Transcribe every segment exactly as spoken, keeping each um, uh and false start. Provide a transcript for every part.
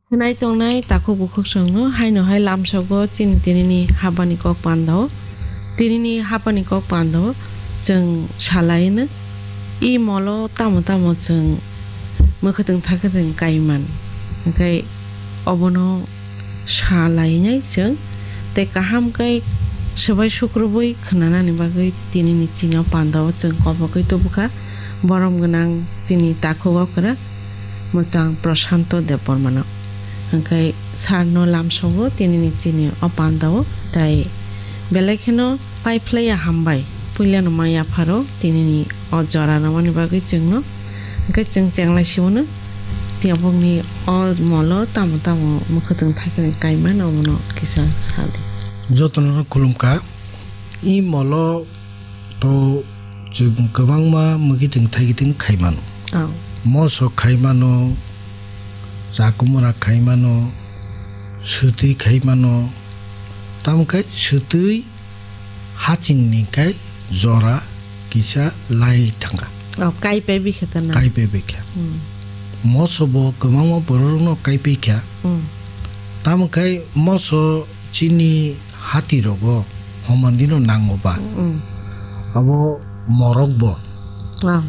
Khwnai tongnai takhuk bukhuk songno haino hai lamsogo chini tinini habani kok pandao. Tinini habani kok pandao chwng salaino. I molo tamo tamo chwng mwkhwtwng thakhwtwng kaiman. Hwnkhe obono salainai chwng tei kaham khe swbai sukrubui khwnanani bagwi tinini chini o pandao chwng kobogwi tubukha borom gwnang chini takhuk okra mwchang Prashanto Debbarmano. Hwnkhe sarno lamsogo tinini chini o pandao, tai belai kheno paiphlaiya hambai. Puilano mai yapharo tinini o jora rwmani bagwi chwngno. Hwnkhe chwng chenglai siwono, tiyabokni o molo tamo tamo mwkhwtwng thakhwtwng kaimano omono kisa sadi. Jotono khulumkha. I molo to chwng kwbangma mwkhitwng thaikitwng khaimano. Oh. Moso khaimano, chakumura khaimano, swtwi khaimano. Tamokhe swtwi hachingni khai jora kisa lai thangkha. Oh, kaipai bikha ta na? Kaipai bikha. Hmm. Moso bo kwbangma bororokno kaipai kha. Hmm. Tamokhe moso chini hatirogo homandino nango ba. Mm. Abo morok bo. Ah.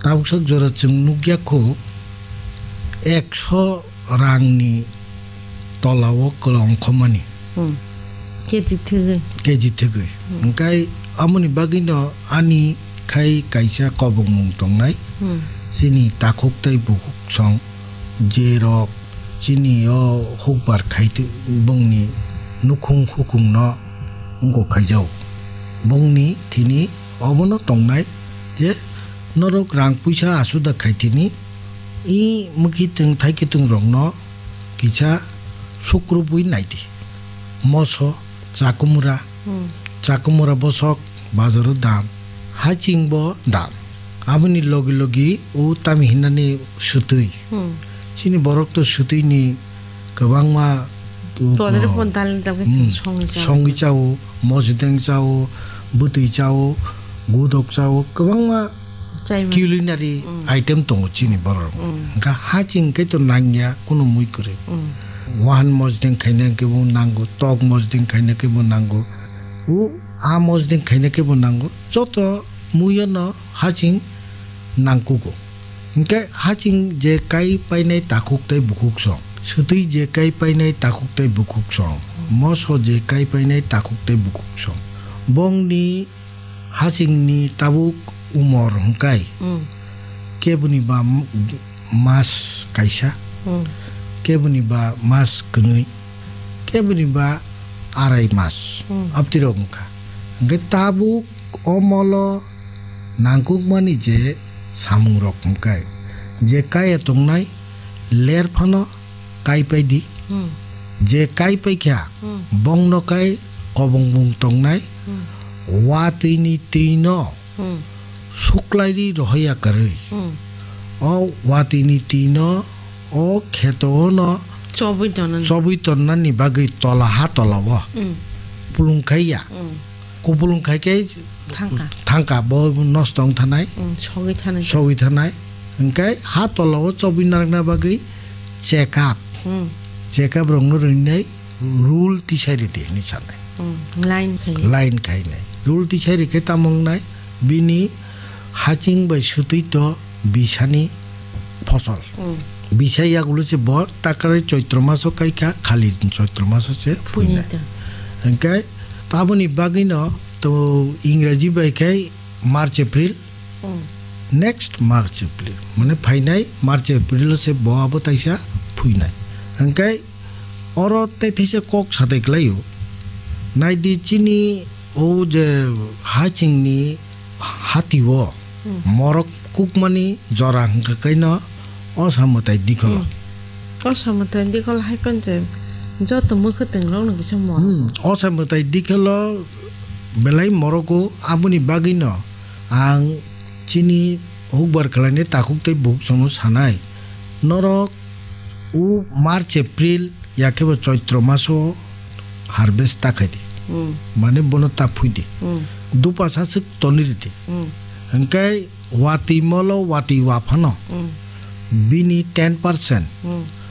Tabuksak jora chwng nukya kho ekso rangni tolao kwlwng khomani. Mm. Keji thwgwi. Keji thwgwi. Mm. Hwnkhe amoni bagwino ani khai kaisa kobongmung tongnai. Mm. Chini takhuk tei bukhuk song jerok chini o hukbar khai tw-, bongni nukhung hukungno wngkok khaijao. Bongni thini obono tongnai je norok rang puisa asuda khai thini i mwkhitwng thaikitwng rokno kisa sukrubui naidi. Moso, chakumura, Hmm. Chakumura bosok bazaro dam, haching bo dam. Aboni logi logi o tami hinani swtwi. Hmm. Chini borok to swtwi ni kwbangma, uh, Todre uh, pon dalni dam khe hmm, songwi chao. Songwi chao, mosdeng chao, bwtwi chao, gudok chao, kwbangma Chaimani. Culinary Mm. item tongo chini borok. Mm. Hwnkha haching khe to nangya kunu mui kwrwi. Mm. Wahan mosdeng khaina khe bo nango, tok mosdeng khaina khe bo nango. U a mosdeng khaina khe bo nango. Joto muiyo no haching nangkugo. Hwnkhe haching je kai painai takhuk tei bukhuk song. Swtwi je kai painai takhuk tei bukhuk song. Moso je kai painai takhuk tei bukhuk song. Bongni hachingni tabuk umor hwnkhe Mm. keboni ba m-, mas kaisa, Mm. keboni ba mas kwnwi, keboni ba arai mas, Mm. abtirok wngkha. Hwnkhe tabuk o molo nangkukmani je samungrok hwnkhe, je kaya tongnai ler phano kaipai di. Hmm. Je kaipai kha, Hmm. bongno kai kobongbong tongnai, Hmm. watwini twino Hmm. suklairi rohoya kwrwi. Hmm. O watwini twino o kheto ono Chobwi tonani. Chobwi tonnani bagwi tola ha tola o Hmm. pulung khaiya. Hmm. Kupulung khai khe Thangka. Thangka, bo nosto wng thanai. Mm, sogwi thanai. Sogwi thanai. Hwnkhe ha tola o chobwi narwkna bagwi check up. Mm. Check up rokno rwnai rule tisai rwdi hwnwi sanai. Mm, line khai. Line khainai. Rule tisai rwkhe tamo wngnai? Bini haching bai swtwi to bisani phosol. Mm. Bisa yagulo se bo takrari Choitro maso kai kha, khali Choitro maso se Phuini phuinai. To. Hwnkhe aboni bagwino to Ingraji bai khai March, April, Mm. next March, April. Mane phainai March, April o se bo abo taisa phuinai. Hwnkhe oro tei theisa kok satai klaio. Naidi chini o je hachingni hatio Hmm. morok kukmani jora hwnkha kaino osa mwtai dikholo. Hmm. Osa mwtai dikholo hai phano je joto mwkhwtwng rokno kisa morok. Hmm. Osa mwtai dikholo belai morogo, aboni bagwino ang chini hukbar khlainai takhuk tei bukhuk songno sanai. Norok o March, April, ya khe bo Choitro maso harvest ta khai di. Hmm. Mane bono ta phui di. Hmm. Dupa sa swk tonwi rw di. Hmm. Hwnkhe watwi molo watwi wa phano Hmm. bini ten percent Hmm.